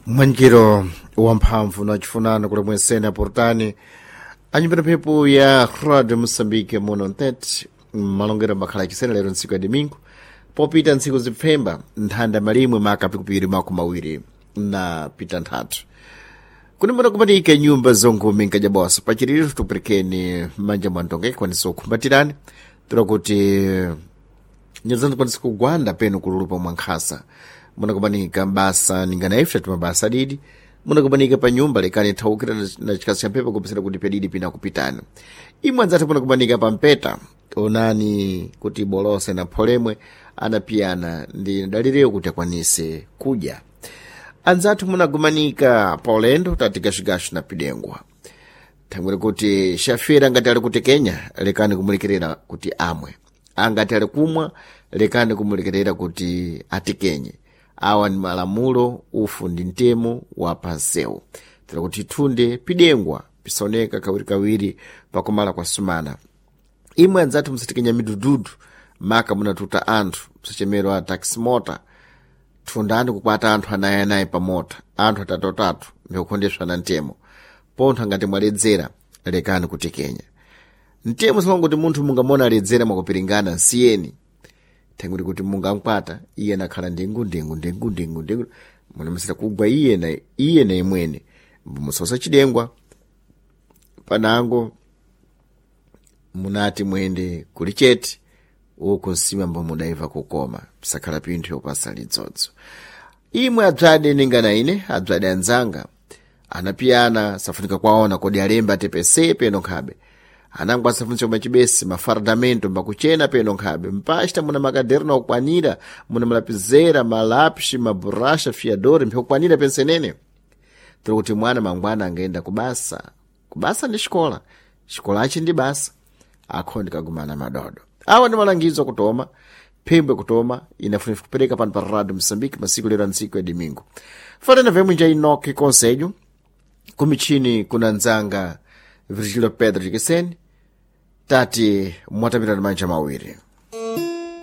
Mwanjiro wamphamvu na chifunano kuli mwensene aportani anyumbira mphepo ya Radio Mosambike muno ntete malongero makhala achisena lero ntsiku ya domingo popita ntsiku zipfemba nthanda malimwe maka pikupiri 27 kunimbona kumatika nyumba zonkhumi nkajabosa pachiriro tuperekeni manja mwantonge kwanisa kukhumbatirani tira kuti nyazani kwanisa kugwanda penu kululupa mwankhasa munakumanika mbasa ningana ife tumabasa adidi munakumanika pa nyumba lekani thaukira na chikasi cha mphepo kupesera kuti pedidi pina kupitani imwe anzathu munakumanika pa mpeta onani kuti bolose na pholemwe anapiyana ndi dalireyo kuti akwanise kudya anzathu munagumanika pa ulendo tati gashigashi na pidengwa thangwere kuti shafira ngati ali kuti kenya lekani kumulekerera kuti amwe angati ali kumwa lekani kumulekerera kuti atikenye awa ni malamulo ufu ndi mtemo wa pansewu tira kuti thunde pidengwa pisaoneka kawirikawiri pakumala kwa sumana imwe anzathu musatikenya midududu maka munatuta anthu msachemero a taximota thundani kukwata anthu anayi pamota anthu atatuatatu ndikukhondeswa na mtemo pontho angati mwaledzera lekani kutekenya mtemo simanguti munthu mungamona aledzera mwakupiringana nsiyeni thanguri kuti mungamkwata iye nakhala ndengu ndengu ndengu ndengu ndengu munamasira kugwa iye na iye na imwene mbumusausa chidengwa panango munati mwende kuli chete uku nsima mbo mudaiva kukoma pisakhala pinthu yopasa lidzodzo imwe adzade ningana ine adzade anzanga anapiyana safunika kwaona kodi alemba atepese peno nkhabe anango asafunitsa machibesi mafardamento mbakuchena peno nkhabe mpachita muna makaderna okwanira muna malapizera malapshi maburasha fiadori mphyokwanira pensenene tiri kuti mwana mangwana angaenda kubasa kubasa ndi xikola xikolachi ndi basa akhondi kagumana madodo awa ndi malangizo kutoma phembwe kutoma inafunika kupereka pano pa Radio Mosambike masiku lero antsiku ya domingo fanana vemwe nja inoki conselho kumichini kuna nzanga Virgilio Pedro Jekeseni tati mwatamirani manja mawiri.